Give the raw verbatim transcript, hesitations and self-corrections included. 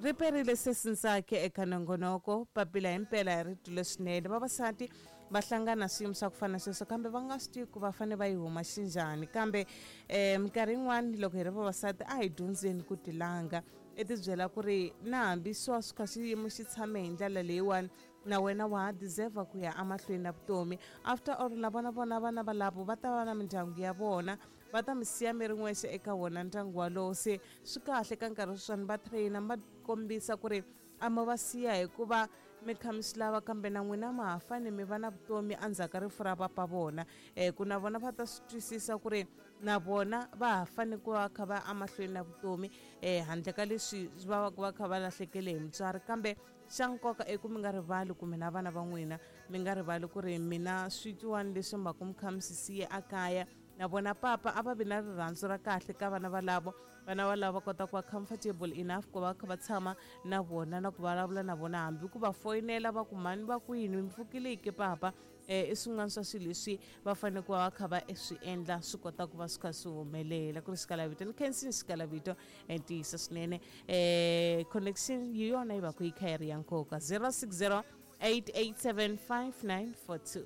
Ri perile sesi Ntsake eka nongonoko papila himpela hi ri twile swinene. Vavasati va hlangana swiyimo swa ku fana na sweswo, kambe va nga swi tivi ku va fanele va yi huma xinjhani. Kambe um minkarhi yin'wani loko hi ri vavasati a hi dyondzeni ku tilanga, i ti byela ku ri na hambi swa swi kha xiyimo xi tshame hi ndlela leyiwani, na wena wa ha deserve ku ya emahlweni na vutomi. After all, na vona vona vana valavo va ta va na mindyangu ya vona, va ta mi siya mi ri n'wexe eka wona ndyangu walowo. Se swi kahle ka nkarhi sweswiwani va trainer, va kombisa ku ri a mo va siya hikuva mi kha mi swi lava, kambe na n'wina ma ha fane mi va na vutomi endzhaku ka rifu ra papa vona. um ku na vona va ta swi twisisa ku ri na vona va ha fane ku va kha va emahlweni na vutomi um handle ka leswi va va va kha va lahlekele hi mutswari. Kambe xa nkoka i ku mi nga rivali ku mina vana va n'wina, mi nga rivali ku ri mina switwiwani leswi mi va ku mi kha mi swi siye ekaya. Na vona papa a va vi na rirhandzu ra kahle ka vana valavo, vana valavo va kota ku va comfortable enough ku va kha va tshama na vona na ku vulavula na vona, hambi ku va foyinela va ku mhani va kwini, mi pfukile ke papa. um i swin'wana swa swilo leswi va fanele ku va va kha va swi endla swi kota ku va swi kha swi humelela. Ku ri xikalavito ni khensini xikalavito ntiyiso swinene. um connection hi yona yi va ku yi kha yi ri ya nkoka. Zero six zero eight eight seven five nine four two.